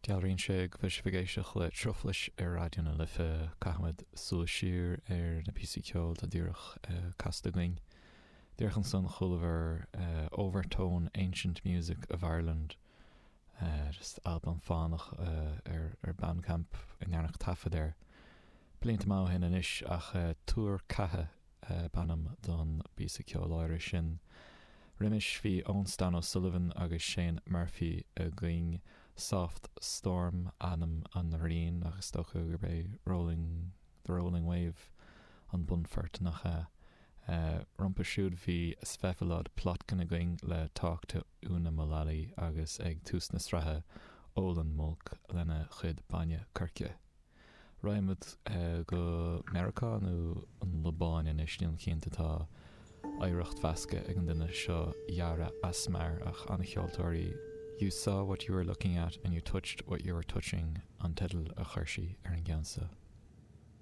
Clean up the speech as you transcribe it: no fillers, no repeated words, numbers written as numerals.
Dealraíonn sé go bhfuil sibh ag éisteacht le Truflais ar Raidió na Life. Caithfimid súil siar ar na píosaí ceoil atá díreach casta againn. Díreach ansan chualamar Overtone Ancient Music of Ireland, just albam fánach ar Bandcamp a ndearnadh taifead air blianta maith ó shin anois ach Tuar Ceatha b'ainm don bpíosa ceoil áirithe sin. Roimis bhí Eoin Stan O'Sullivan agus Shane Murphy againn. Soft Storm ainm an riain ach is dócha gurb é Rolling, The Rolling Wave an bunphort, nach ea? Rompu siúd bhí Vsevolod Plotkin againn le Talk to Una Mullally agus ag tús na sraithe Olan Mulk lena chuid bainne coirce. Raghaimid go Meiriceá nó an Liobáin anois, nílim cinnte, tá oidhreacht mheasctha ag an duine seo, Yara Asmar, ach an-cheoltóir í. You saw what you were looking at and you touched what you were touching an teideal a chuir sí ar an gceann seo.